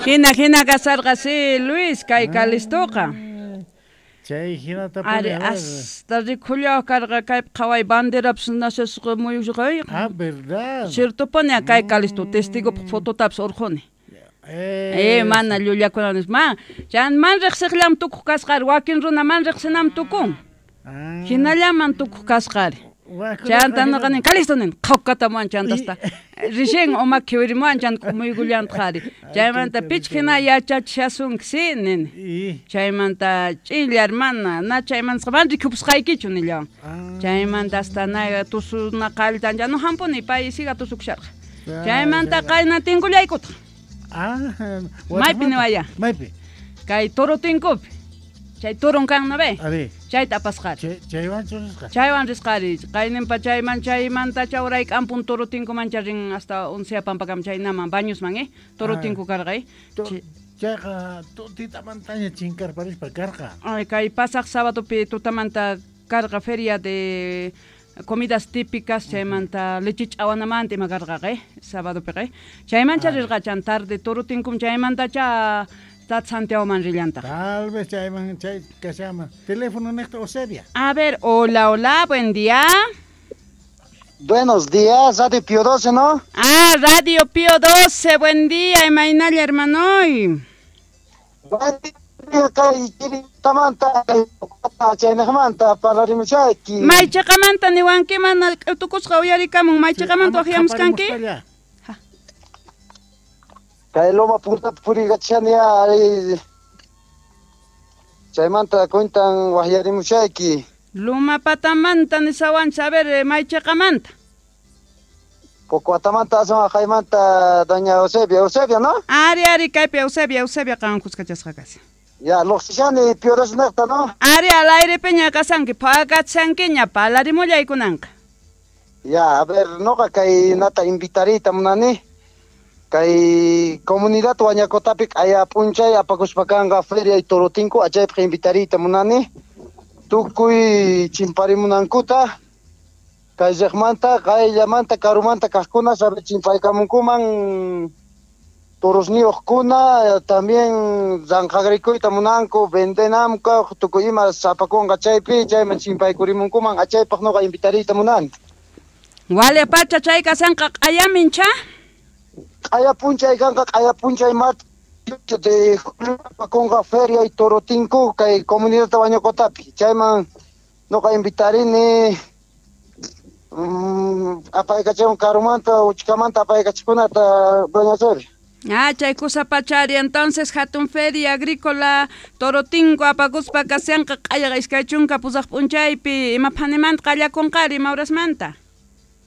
Jina jina kasarqa si Luis kay Calistoqa. Chay jinata Ari hasta rikhullawaq karqa kaypi qhaway banderapis nacesqa muyusqay. Ah, verdad. Ciertopuni kay Calisto testigopaq fototapis urqhuni. Mana llullakuna nispa. Ma, chan man riqsiqllam tukuq kasqari, wakin runa man riqsinam tukun. Hinallaman tukuq kasqari. Chanta noqa nin, Calisto nin, qhawkatamuwan chantasta. Rixin uma khiwirimuwan chanta k'umuykullantaq ari. Chaymanta pichqa hina yachachishasunki, sí, nini. Chaymanta ch'inlla hermana, na chaymantaqa mana rikhupusqaykichu nillawan. Chaymanta hasta na tusuna qalltan no hampuni pay siga tusukusharqa. Chaymanta qayna tinkullaykutaq. Maypi niwaya? Maypi? Kay toro tinkupi. Chay toron kan no ve? Chayta apasqari. Chaywanchu risqa? Chaywan risqari. Qayninpa chayman chaymanta chawrayk'ampun toro tinkumancha rin hasta Uncía Pampakama chaynaman Bañosman, eh? Toro tinku karqa, eh? Chayqa tutitamantaña chinkarparispa karqa. Ay, kay pasaq sábadopi tutamanta karqa feria de comidas típicas chaymanta leche ch'awanamanta ima karqaqa, eh? Sabadopiqa, eh? Chaymancha rirqa chan tarde toro tinkum chaymantacha Tat Santiagoman rillantaq. Tal vez chayman chay kashaman. Teléfono neqta Eusebia. A ver, hola, hola, buen día. Buenos días, Radio Pío 12, ¿no? Ah, Radio Pío 12, buen día, imaynalla, hermanoy. Buen día, kay chiritamanta, chaynejmanta, parlarimushayki. Maychiqamanta niwanki, mana k'utukusqa uyarikamun, maychiqamanta waqyamuskanki? Kay loma puntapi puriykachani ari. Chaymanta cuentan waqyarimushayki. Loma patamanta nisawanchis, a ver, maychiqamanta. Pocoatamanta aswan aqaymanta doña Eusebia, Eusebia, ¿no? Ari, ari, kaypi Eusebia, Eusebia qan kuskachasqa kashan. Ya, luqsishani Pío 12 neqta, ¿no? Ari, al aire peña kasanki, phakachankiña, palarimullaykunanqa. Ya, a ver, noqa kay nata invitariyta munani. Kay comunidad Huañacotapi q'aya p'unchay apakuspa kanqa feria y toro tinku, achaypaq invitariyta munani. Tukuy chimparimunankuta, kay riqmanta, qayllamanta, karumanta kaqkuna sabe chimpaykamunkuman torosniyuqkuna, también ranqagrikuyta munanku, vendenamku, tukuy ima sapakunqa chaypi, chayman chimpaykurimunkuman, achaypaq noqa invitariyta munani. Wale pacha chay kasanqa q'ayamincha? Q'aya p'unchay kanqa, q'aya p'unchay martes de julio apakunqa feria y toro tinku kay comunidad Huañacotapi. Chayman noqa invitarini, apaykachun karumanta, uchkamanta apaykachikunata, doña Eusebia. Ah, chay kusa pachari, entonces hatun feria agrícola toro tinku apakuspa kasyanqa q'ayaqa iskay chunka pusaq p'unchaypi, ima phanimanta qallakunqari, ima horasmanta?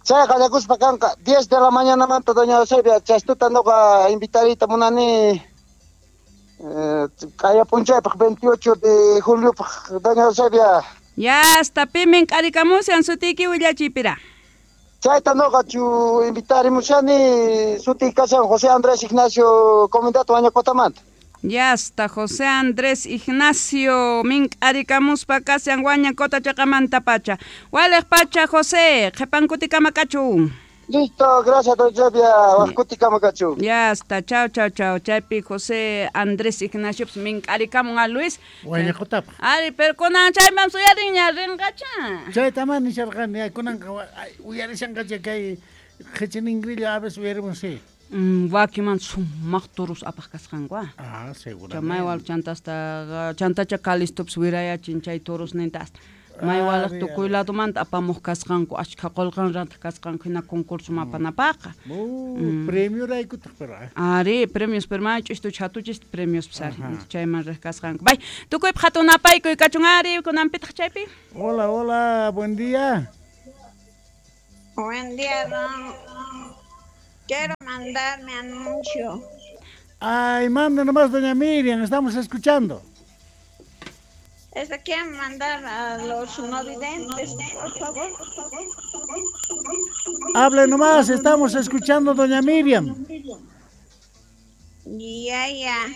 Chay qallakuspa kanqa 10 de la mañana manta, doña Eusebia, chastuta noqa invitariyta munani, q'aya p'unchaypaq 28 de juliopaq, doña Eusebia. Ya, hasta pimin k'arikamushan sutiyki willachiypira. Chayta noqa chu invitarimushani, sutiy kashan José Andrés Ignacio, comunidad Huañacotamanta. Ya está, José Andrés Ignacio, min k'arikamuspa kashan Huañacota chaqamanta pacha. Waliq pacha, José, qhipankutikama kachu. Listo, gracias, doña Eusebia, waqkutikama kachu. Ya está, chao, chao, chao. Chaypi José Andrés Ignacio, pues, min k'arikamun a Luis. Huañacotapa. Ari, pero kunan chayman suyarinña rinqacha. Chayta man nisharqani, kunanqa uyarishanqacha kay qhichiningrilla a veces uyarimun, sí. Wakiman sumaq toros apaq kasqanku, ah. Ah, seguramente. Chamaywal chantasta, chantacha Calistopis wirayachin chay toros ninta hasta. Maywalaq tukuy ladomanta apamuq kasqanku, achkha qullqan rantaq kasqanku hina concurso mapanapaqa. Premio raykutaq, pero, ah. Ari, premios, pero may ch'istu chhatuchis premios pisari. Chayman riq kasqanku. Bay, tukuypaq hatun napaykuy kachun ari, kunanpitaq chaypi. Hola, hola, buen día. Buen día, don. Quiero mandar mi anuncio. Ay, manda nomás, doña Miriam, estamos escuchando. Quieren mandar a los no videntes, por favor. Hable nomás, estamos escuchando, doña Miriam. Ya, ya.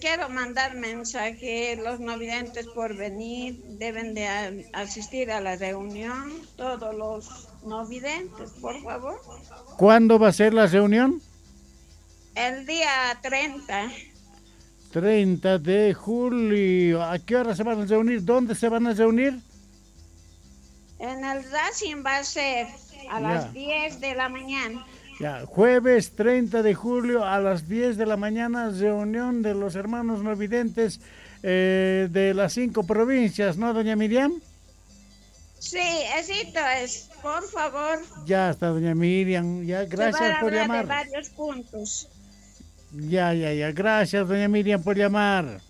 Quiero mandar mensaje, los no videntes por venir, deben de asistir a la reunión, todos los no videntes, por favor. ¿Cuándo va a ser la reunión? El día 30. 30 de julio. ¿A qué hora se van a reunir? ¿Dónde se van a reunir? En el Racing va a ser a las 10 de la mañana. Ya, jueves 30 de julio a las 10 de la mañana, reunión de los hermanos no videntes de las 5 provincias, ¿no, doña Miriam? Sí, esito es, por favor. Ya está, doña Miriam, ya, gracias por llamar. De varios puntos. Ya, gracias, doña Miriam, por llamar.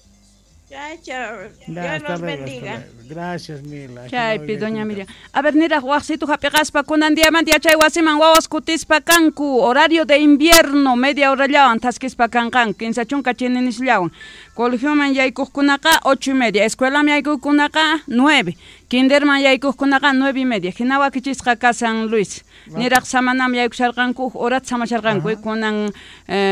Ya, chao. Dios los bendiga. Gracias, Mila. Chaypi, doña Miriam. A ver, niraj waqsitu hap'iqaspa kunan diamanta yachay wasiman wawas kutispa kanku. Horario de invierno, media horallawan thaskispa kanqanku, 15 chininisllawan. Colegioman yaykuqkunaqa 8:30, escuelaman yaykuqkunaqa 9, kinderman yaykuqkunaqa 9:30. Hina wakichisqa kasan Luis. Niraj samanam yaykusharqanku, horat samasharqanku, kunan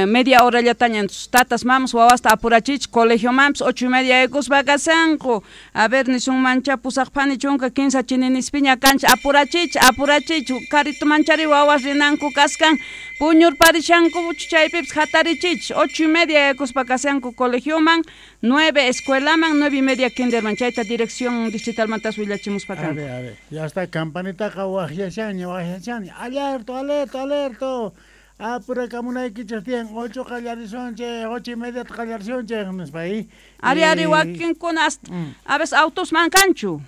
media horallataña tatas mamas wawasta apurachich, colegiomanpis 8:30 yaykuspa kasanku. A ver, nisunmancha pusaqpani chunka 15 chininispiña kancha, apurachich, apurachich, karito manchari wawas rinanku kaskan, puñurparishanku chaypipis hatarichich, 8:30 yaykuspa kasanku colegioman, 9 escuelaman, 9:30 kinderman, chayta dirección distritalmantas willachimuspa kanku. A ver, ya está, campanitaqa waqyashanña, waqyashanña, alerto, alerto, alerto. Apurakamunaykichis tiyan, 8 qallarisunchik, 8:30 qallarisunchik, nispa ahí. Ari, wakinkuna a veces autos man kanchu.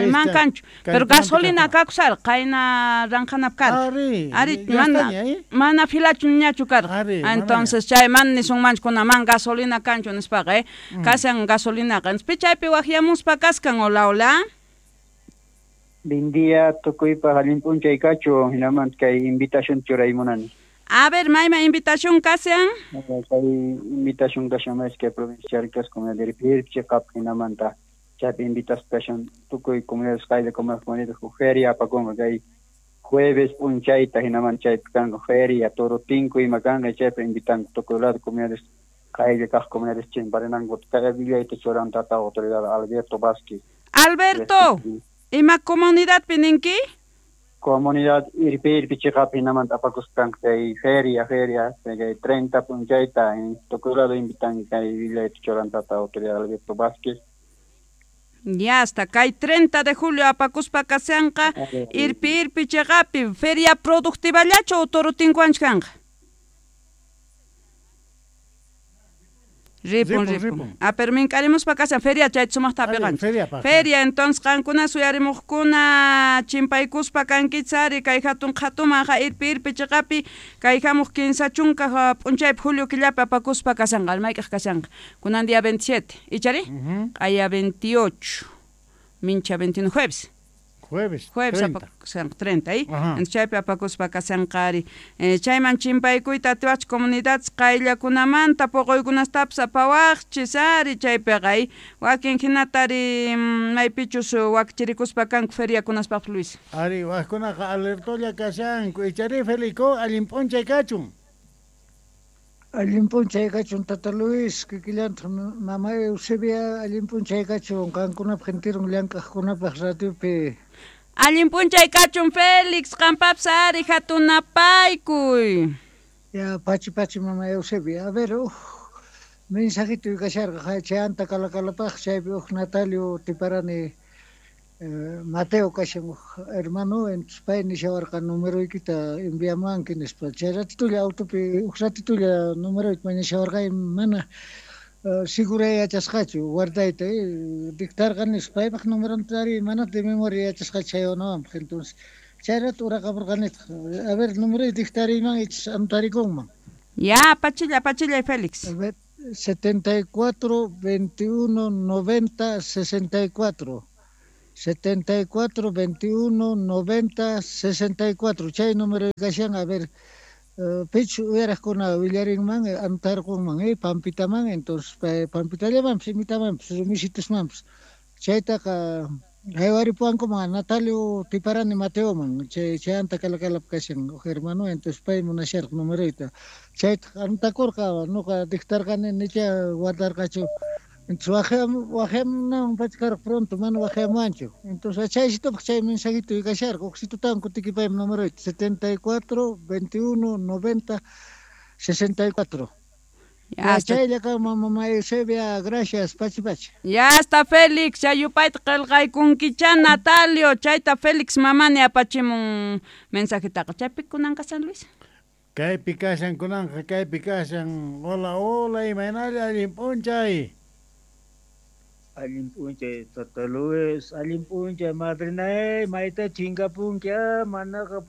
Man kanchu, pero gasolina kakusar, qayna ranqanap karqa. Ari, mana filachu ñachu karqa. Entonces chay man nisunmanchu kuna man gasolina kanchu nispaqa, kasan gasolinaqa. Entonces chaypi waqyamuspa kaskan, hola, hola. Buen día, tukuypaq allin p'unchay kachu, hinaman kay invitación churaymunani. A ver, mayma invitación kashan. Kay invitación kashan es que provincia Charcas comunidad de Irpi chiqap hinamanta chaypi invitasqa kashan tukuy comunidades qaylla comunidades feria apakunqa kay jueves p'unchayta hinaman chaypi kanqa feria toro tinku ima kanqa chaypi invitanku tukuy lado comunidades qaylla kaq comunidades chimparinanku kay willayta churan tata autoridad Alberto Vázquez. Alberto, ima comunidadpi ninki? Comunidad Irpi chiqapi hinamanta apakusqanku kay feria kay 30 p'unchayta tukuy lado invitan kay willayta churan tata autoridad Alberto Vázquez. Ya hasta kay 30 de julio apakuspa kasanqa Irpi chiqapi feria productivallachu o toro tinkuanchu kanqa? Ripun. A pero mink'arimuspa kasan feria chayta sumaqta apiqanchik. Feria, entonces qankuna suyarimuqkuna chimpaykuspa kankichari kay hatun qhatuman ja Irpi chiqapi kay hamuq 15 p'unchaypi julio killapi apakuspa kasanqa, mayk'aq kasanqa. Kunan día 27, ichari? Q'aya 28, mincha 21 jueves. Jueves apakusqanqa 30, ¿eh? Entonces chaypi apakuspa kasanqa ari. Chayman chimpaykuyta atiwach comunidades qayllakunamanta poqoykunastapas apawaqchis ari chaypiqa, wakin hinata ari maypichus wakchirikuspa kanku feriakunaspaq Luis. Ari, waqkunaqa alertolla kashanku, ichari Felico, allin p'unchay kachun. Allin p'unchay kachun tata Luis, kikillantaq mama Eusebia, allin p'unchay kachun qankunapaq enteron llank'aqkunapaq radiopi. Allin p'unchay kachun Félix, qampapis ari hatunapaykuy. Ya, pachi mama Eusebia. A ver, mensajito kasharqa chayanta kalakalapaq chaypi uj Natalio Tiparani Mateo kashan uj hermano, entonces pay nishawarqa numeroykita enviamanki nispa. Chay ratitulla autopi uj ratitulla numeroyta mañashawarqa mana siguray yachasqachu guardayta dictarqa nispa paypaq numeronta ari mana de memoria yachasqachu chaywananpaq. Entonces chay rato uraqamurqanitaq. A ver, numeroy dictariyman ichis anotarikunman. Ya, pachilla Félix. A ver, 74 21 90 64. 74 21 90 64. Chay número kashan, a ver, pichu uyaraqkuna willarinman, anotarqunman, pampitaman, entonces pampitallamanpis, imitamanpis, rumisitusmanpis. Chaytaqa haywaripuwankuman Natalio Tiparani Mateoman, chayanta kalakalap kashan uj hermano, entonces pay munasharqa numeroyta. Chaytaq anotakurqa, nuqa dictarqani nicha guardarqachu. Entonces waqyamunaman pachkarqa pronto, mana waqyamuwanchu. Entonces chaysitupaq chay mensajito kasharqa, uqsitutawan kutikipaymi numeroyta, 74 21 90 64. Ya está. Chaylla kanman mamá Eusebia, gracias, pachi pachi. Ya está Félix, chay yupayta qillqaykunkicha Natalio, chayta Félix mamani apachimun mensajetaqa. Chaypi kunanqa San Luis. Kaypi kashan kunanqa, kaypi kashan. Hola, hola, imaynalla allin p'unchay. Allin p'unchay Tata Luis, allin p'unchay madrinay, mayta chinkapunki, manaqa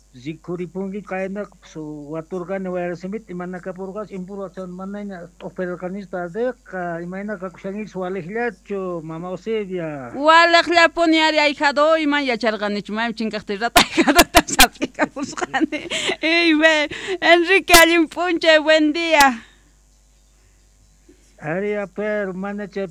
rikhuripunki qaynaqa waturqani wayrasimita imana kapurqachu impurqachu manaña t'uqpirqanichu tardeqa imayna kakushankichis waliqllachu mama Eusebia. Waliqllapuni ari ahijado iman yacharqanichu maymi chinkaqtin rata ahijadota sap'ikapusqani. Ey, Enrique allin p'unchay, buen día. Ari pero mana chay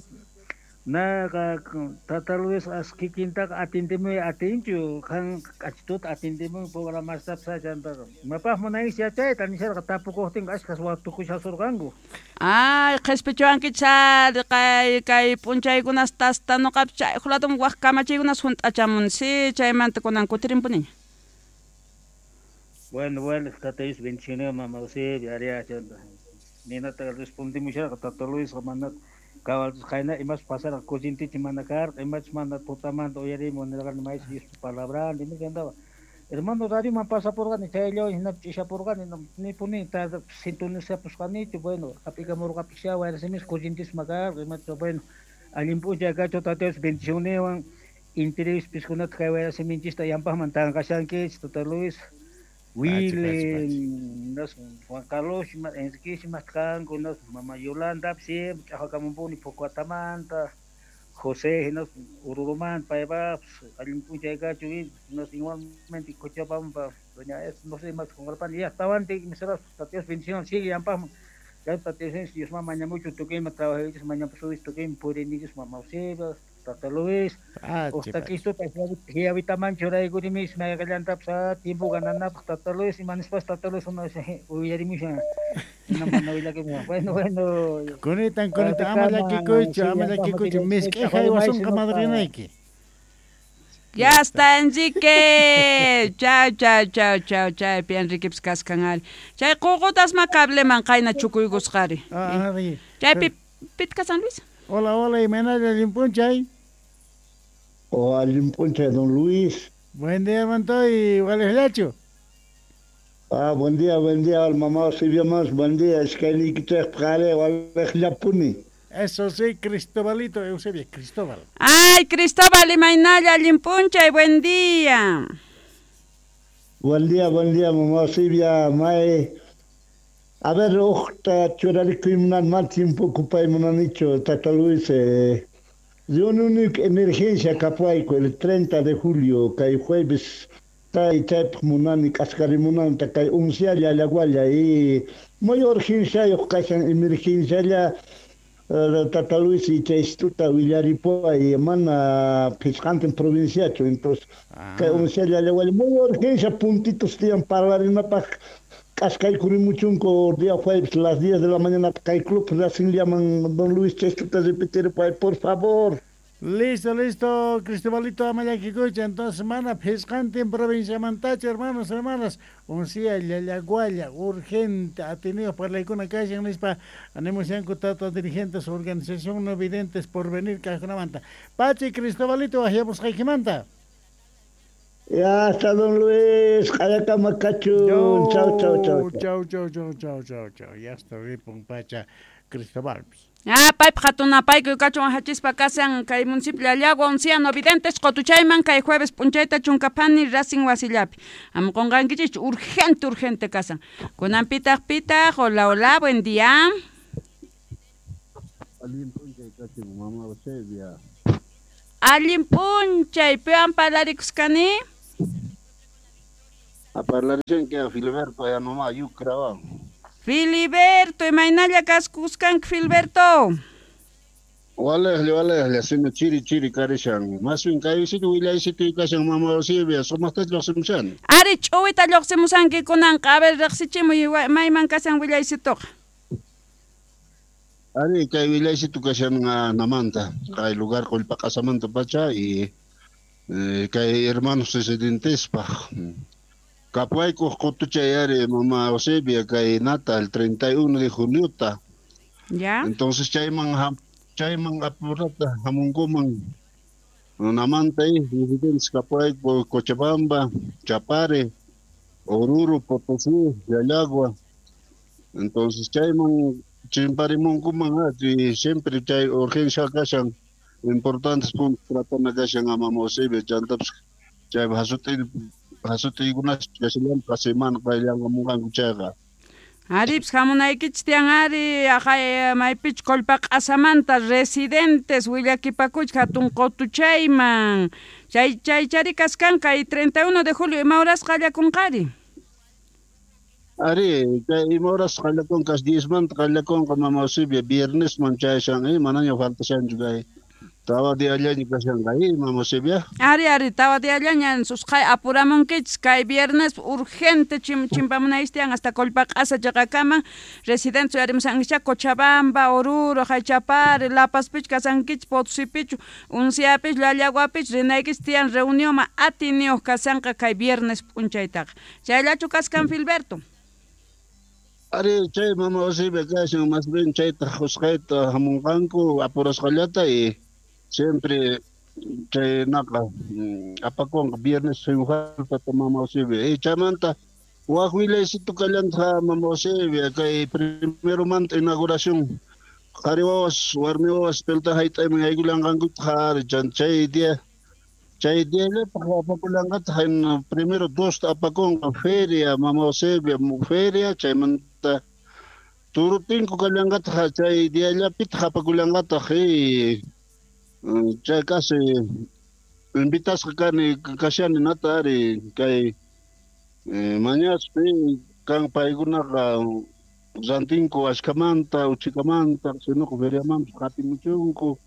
naqa Tata Luis as kikintaqa atindimuy atinchu qan k'achituta atindimuy programastapis chantaqa imapaq munaykichis yachayta nisharqa tapukuqtinqa ashkhas watukushasurqanku. Ay, qhispichuwankichis ari kay kay p'unchaykunas tasta nuqapis chay huk waq kamachiykunas hunt'achamun si chaymanta kunan kutirinpuniña. Bueno, bueno, Tata Luis bendiciones mama Eusebia ari chanta ninata respondimusharqa Tata Luis mana cabal qayna imas pasarqa corrientechi mana karqa imachus mana tutamanta uyarimu nirqani maysi Diospa palabran nimachandaba hermano radioman pasapurqani chayllawan hinapi ch'ishapurqani nipuni sintonizapusqanichu bueno hap'ikamurqapisha wayrasimis corrientisma karqa imachu bueno allin p'unchay kachu Tata Dios bendicionewan entrevispiskunata kay wayrasiminchista yampaqman tanqashankichis Tata Luis Willy, Juan Carlos, Enrique, kanku, Mama Yolanda, siempre ch'aqakamunpuni Pucuatamanta, José, Ururumanta, paypapis, allin p'unchay kachu, igualmente Cochabamba, doña es, no sé, más qunqarpani, ya tawantin misaras, Tata Dios bendición, sigue yampaqman, Tata Dios, Diosman mañamuchu tukuyma trabajaychis, mañapusuychis tukuyma puriyninchis, Mama Eusebia, Tata Luis, uqtakistuta hiyawitaman churaykurimish mayqallantapis tiempo gananapaq Tata Luis imanispas Tata Luis uyarimushan mana willakimushan bueno bueno Kunitan kunitan ama llakikuychu ama llakikuychu misk'i haywasunqa madrinayki. Ya está Enrique. Chau chau chau chau chaypi Enriquepis kaskan ari. Chay ququtasma cableman qayna chukuykusqari. Chaypi pitka San Luis. Hola, hola, imaynalla allin p'unchay. Oh, allin p'unchay, don Luis. Buen día, Montoy, waliqllachu. Ah, buen día, mamá Eusebia más, buen día, iskaynikichejpaq ari waliqllapuni. Eso sí, Cristobalito, Eusebia, Cristóbal. Ay, Cristóbal, imaynalla allin p'unchay, buen día. Buen día, mamá Eusebia, may. A ver, uqta churarikuymunan mal tiempo ocupaymunanichu, Tata Luis. Yo única emergencia kapuayku el 30 de julio, kay jueves, tay chaypaq munani k'askarimunanta kay uncialla llagualla y muy urgenciayuq kashan emergencialla Tata Luis y chaystuta willaripuay mana phisqantin provinciachu, entonces kay uncialla llagualla muy urgencia puntitos tiyan parlarinapaq k'askaykurimuchunku día jueves las 10 de la mañana kay club Racing llaman don Luis chaystuta repetir por favor. Listo, listo, Cristobalito ama llakikuychu. Entonces, mana phisqantin provinciamantachu, hermanos, hermanas, uncia llallagualla, urgente, atenidos parlaykuna kashan nispa, animushanku tata dirigentes, organización no videntes por venir kajkunamanta. Pachi, Cristobalito, wajyamusqaykimanta. Ya está, don Luis, q'ayakama kachun. Chau, chau, chau. Chau, chau, chau, chau, chau, chau. Ya está, ripun pacha Cristobal. Ah, paypaq hatunapaykuy kachun wajachispa kasan kay municipio Llallagua uncia no videntes qutuchayman kay jueves p'unchayta chunkaphani Racing wasillapi. Ama qunqankichikchu urgente urgente kasan. Kunan pitaq pitaq, hola hola, buen día. Allin p'unchay kachun mama Eusebia. Allin p'unchay, piwan parlarikusqani? A parlarishanki Filiberto Yanoma Yucrawan. Filiberto, imaynalla kaskusqanki Filiberto? Walejlla, walejlla, sino chiri chiri karishan. Maswin kaysitu willaysitu kashan mama Eusebia, sumaqtachu lluqsimushan. Ari ch'uwita lluqsimusanki kunanqa, a ver riqsichimuy mayman kashan willaysituqa. Ari kay willaysitu kashan namanta, kay lugar Qollpaqasamanta pacha y kay hermanos residentespaq. Kapuaykuq qutuchay ari mama Eusebia kay nata el 31 de juniota. Ya. Entonces chayman apurata hamunkuman runamanta residentes Kapuayku, Cochabamba, Chapare, Oruro, Potosí, Llallagua. Entonces chayman chimparimunkuman y siempre chay urgencia kashan importantes puntos tratana kashan a mama Eusebia chantapis chay hasut'iykunas kashallanqa semana qayllanqamunqanku chayqa. Arips hamunaykichis tiyan ari aqay maypichu Qollpaq'asamanta residentes willakipakuchik hatun qutuchayman chay chari kaskanqa y 31 de julio ima horas qallakunqari? Ari chay ima horas qallakunqa 10 manta qallakunqa mama Eusebia viernesman chayashan manaña faltashanchu kay tawa diallaña kashanqa mama Eusebia. Ari tawa diallaña susqay apuramunkichis kay viernes urgente chimpamunaychis tiyan hasta Qollpaq'asa chaqakaman residentes uyarimusankichá Cochabamba, Oruro, Chapare, La Pazpichu kasankichis, Potosipichu, Unciapichu, Llallaguapichu rinaykichis tiyan reunionman atiniyuq kasanqa kay viernes p'unchaytaqa. Chayllachu kaskan Filberto? Ari chay mama Eusebia kashan más bien chayta usqhayta hamunqanku apurasqallata y siempre chay naqa apakunqa viernes sin falta mama Eusebia. Y chaymanta waj willaysitu kallanta mama Eusebia kay primero manta inauguración qhari wawas warmi wawas pelota hayt'ayman haykullanqankutaq ari chay día llapaq apakullanqataq primero dos apakunqa feria mama Eusebia feria chaymanta turutinku kallanqataq chay diallapitaq apakullanqataq chay casi invitasqa kani kashani nata ari kay mañaspi kan paykunaqa rantinku ashkamanta uchikamanta sinuqa feriamanpas qatimuchunku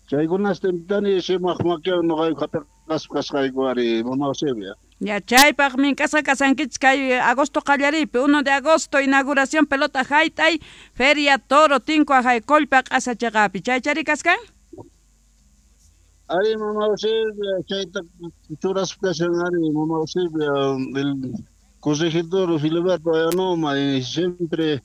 chaykunasta invitani sumaq makiwan noqayku hap'iqaspa kasqayku ari mama Eusebia. Ya chaypaq mink'asqa kasankichis kay agosto qallariypi 1 de agosto inauguración pelota hayt'ay feria toro tinku aqhay Qollpaq'asa chaqapi chaychari kaskan? Ari mama Eusebia chayta churaspa kashan ari mama Eusebia el corregidor Filiberto Ayanoma y siempre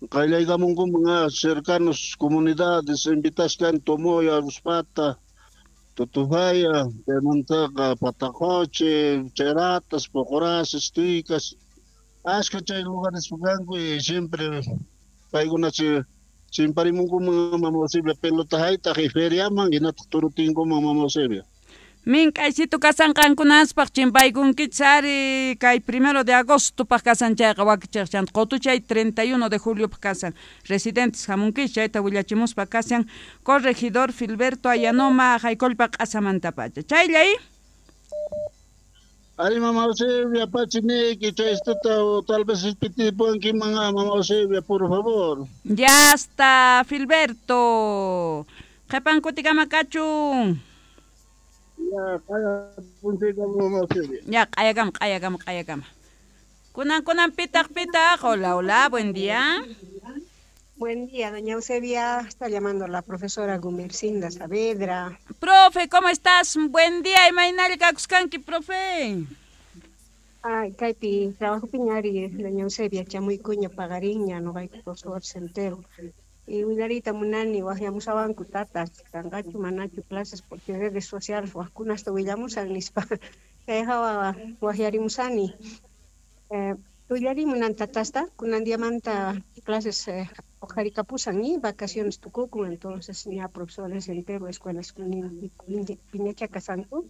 qayllaykamunkuman cercanos comunidades invitasqan Tomoya, Ruspata, Tutufaya, chaymantaqa Patacoche, Cheratas, Pocoraces, Tuicas, ashka chay lugares kanku y siempre paykuna chimparimunkuman mama Eusebia pelota haytaq y feriaman hinataq turutinkuman mama Eusebia. Mink'aysitu kasanqankunaspaq chimpaykunkichis ari kay 1 de agosto paq kasan chayqa wakichiq chanta qutuchay 31 de julio paq kasan residentes hamunkichis chayta willachimuspa kasan corregidor Filberto Ayanoma aqhay Qollpaq'asamantapacha chayllay. Ari mama Eusebia pachiniki chaystata o tal vez pitipuankiman mama Eusebia por favor. Ya está Filberto. Qhipan kutikama kachun. Ya qaya punchayka mama Eusebia. Ya q'ayakama q'ayakama. Kunan pitaq pitaq. Hola, hola, buen día. Buen día, doña Eusebia. Está llamando la profesora Gumercinda Saavedra. Profe, ¿cómo estás? Buen día, imaynalla kakuskanki, profe. Ay, kaypi trabajo piñari, doña Eusebia, chamuykuña pagariña, noqayku profesor Centero. Y willarita munani, waqyamusawanku tatas, kanqachu manachu clases porque redes sociales waqkunasta willamusan nispa. Kay hawa waqyarimusani. Willarimunan tatasta, kunan diamanta clases ojarikapusan y vacaciones tukukun, entonces ya profesores entero escuelas piñacha kasanku.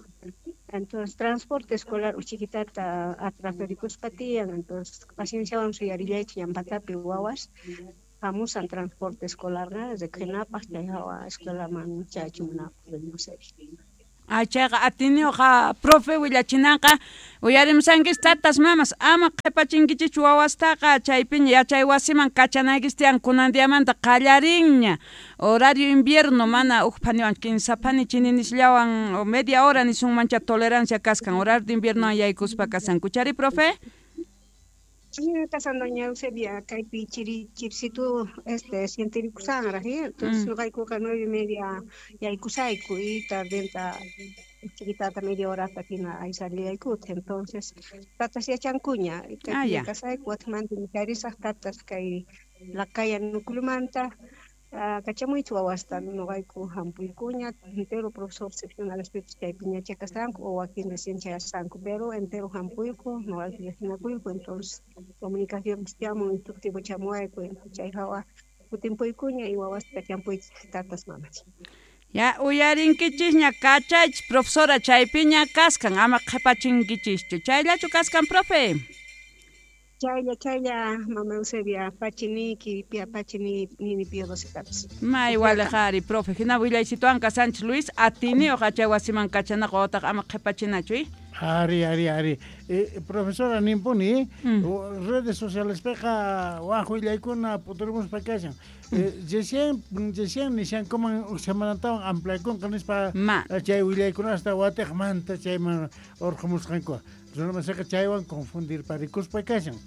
Entonces transporte escolar uchiquitata atrasarikuspa tiyan, entonces paciencia suyarillaych llampatapi wawas hamusan transporte escolar riqhinapaq chay hawa escuelaman chayachimunapaq doña Eusebia. Chayqa atiniyuqa profe willachinanqa uyarimusankichis tatas mamas ama qhipachinkichikchu wawastaqa chaypiña yachay wasiman kachanaykichis tiyan kunan diamanta qallarinña horario invierno mana uj phaniwan kinsa phani chininisllawan o media hora nisunmancha tolerancia kaskan horario de invierno yaykuspa kasanku chari profe. Sí, kasan doña Eusebia kaypi chirisitu sientirikusaqraq, entonces noqaykuqa 9:30 yaykusayku y tardenta Chiquitata media horata hina aysarillaykutaq. Entonces, tatas yachankuña. Ah, ya. Kasayku watimanta inkarisaq tatas kay Lacaya nucleomanta kachamuychu wawasta noqayku hampuykuña entero profesor seccionalespipis chaypiña chakasanku o wakin recién chayasqanku pero entero hampuyku noqayku llaqtinakuyku entonces comunicación chamun instructivo chamuwayku chay hawa kutimpuykuña y wawasta kachampuychis tatas mamas. Ya uyarinkichishña kachaychis profesora chaypiña kaskan ama qhipachinkichischu chayllachu kaskan profe. Chaylla chaylla mama Eusebia pachiniki pia pachini nini pio 12 May walejari profe hina willaysituwan kasanchis Luis atiniyuq achay wasiman kachanaqa otaq ama qhipachinachu i. Ari, ari, ari. Profesora nimpuni, redes sociales peqa waj willaykuna puturimuspa kashan. Recién recién nishankuman uj semanatawan ampliakunqa nispa chay willaykunasta watiqmanta chayman urqumusqanku. Runamasiqa chaywan confundirparikuspa kashan.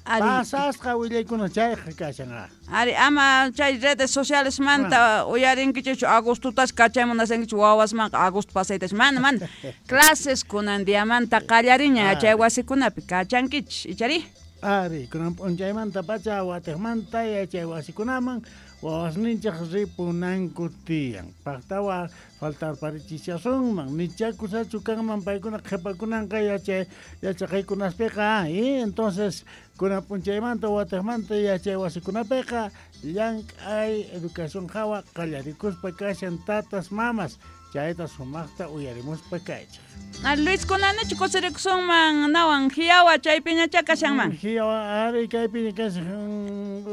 Ari. Pasasqa willaykuna chayqa kashan. Ari ama chay redes sociales manta uyarinkichikchu agostotas kachamunasankichik wawasmanqa agosto pasaytas mana mana clases kunan diamanta qallariña chay wasikunapi kachankichis ichari. Ari, kunan p'unchaymanta pacha watiqmanta yachay wasikunaman wawasninchik ripunanku tiyan. Paqtawa faltarparichishasunman nichakusachu kanman paykuna qhipakunanqa yachay yachaqaykunaspiqa entonces kunan p'unchaymanta watiqmanta yachay wasikunapiqa llank'ay educación hawa qallarikuspa kashan tatas mamas chayta sumaqta uyarimuspa kaychik. Luis kunanichu kusirikusunman nawan hiyawa chaypiñachá kashanman. Hiyawa ari kaypiña kashan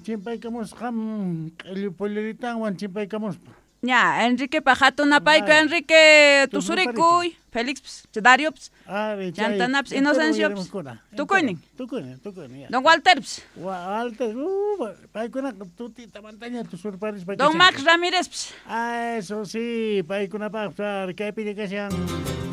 chimpaykamusqam q'illu pulluritanwan chimpaykamuspa. Ya, Enrique pa hatunapayku Enrique tusurikuy, Félix Dariops, Chantanaps, Inocenciops, tukuynin. Tukuynin, tukuynin. Don Walterps. Walter, paykunaqa tutitamantaña tusurparispa. Don Max Ramírez. Ah, eso sí, paykunapaq kaypiña kashan.